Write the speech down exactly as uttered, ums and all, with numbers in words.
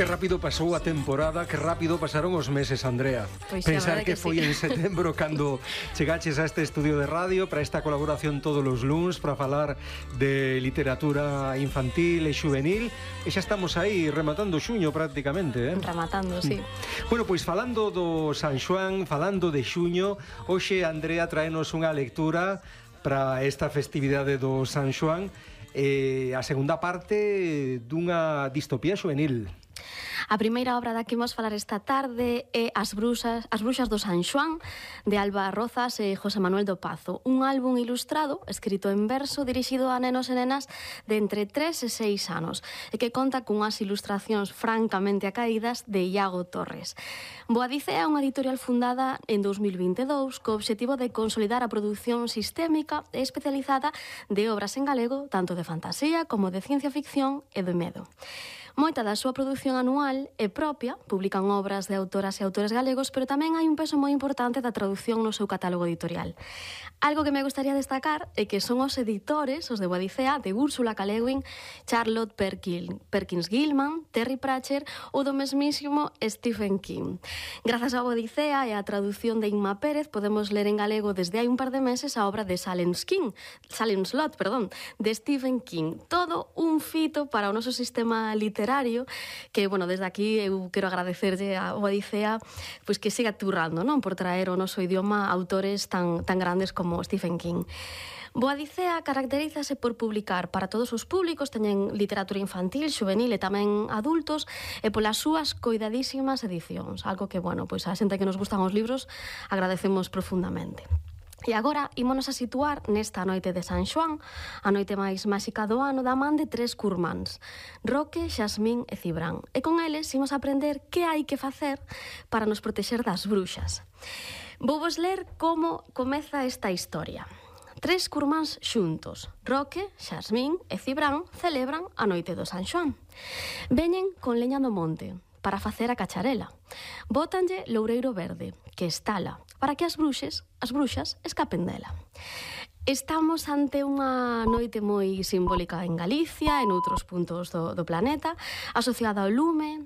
Que rápido pasou a temporada, que rápido pasaron os meses, Andrea. Pois Pensar que, que sí. foi en setembro cando chegaches a este estudio de radio para esta colaboración todos os luns para falar de literatura infantil e juvenil, e xa estamos aí rematando xuño prácticamente, eh? Rematando, sí. Bueno, pois falando do San Xoán, falando de xuño, hoxe Andrea traenos unha lectura para esta festividade do San Xoán, eh, a segunda parte dunha distopía juvenil. A primeira obra da que imos falar esta tarde é As bruxas, As bruxas do San Xoán, de Alba Rozas e José Manuel do Pazo. Un álbum ilustrado, escrito en verso, dirixido a nenos e nenas de entre tres e seis anos, e que conta cunhas ilustracións francamente acaídas de Iago Torres. Boadicea é unha editorial fundada en dous mil vinte e dous co obxectivo de consolidar a produción sistémica e especializada de obras en galego, tanto de fantasía como de ciencia ficción e de medo. Moita da súa produción anual é propia, publican obras de autoras e autores galegos, pero tamén hai un peso moi importante da traducción no seu catálogo editorial. Algo que me gustaría destacar é que son os editores, os de Boadicea, de Úrsula K. Le Guin, Charlotte Perkins, Perkins Gilman, Terry Pratchett ou do mesmísimo Stephen King. Grazas a Boadicea e á traducción de Inma Pérez podemos ler en galego desde hai un par de meses a obra de Salem King, Salem Slot, perdón, de Stephen King. Todo un fito para o noso sistema literario que, bueno, desde aquí eu quero agradecerlle a Boadicea pois que siga turrando, non, por traer o noso idioma autores tan, tan grandes como Stephen King. Boadicea caracterízase por publicar para todos os públicos, teñen literatura infantil, juvenil e tamén adultos, e polas súas coidadísimas edicións, algo que, bueno, pois a xente que nos gustan os libros agradecemos profundamente. E agora ímonos a situar nesta noite de San Xoán, a noite máis máxica do ano, da man de tres curmáns, Roque, Xasmín e Cibrán. E con eles imos a aprender que hai que facer para nos protexer das bruxas. Vouvos ler como comeza esta historia. Tres curmáns xuntos, Roque, Xasmín e Cibrán, celebran a noite do San Xoán. Veñen con leña do monte para facer a cacharela. Bótanlle loureiro verde, que estala, para que as bruxes, as bruxas escapen dela. Estamos ante unha noite moi simbólica en Galicia e noutros puntos do, do planeta, asociada ao lume,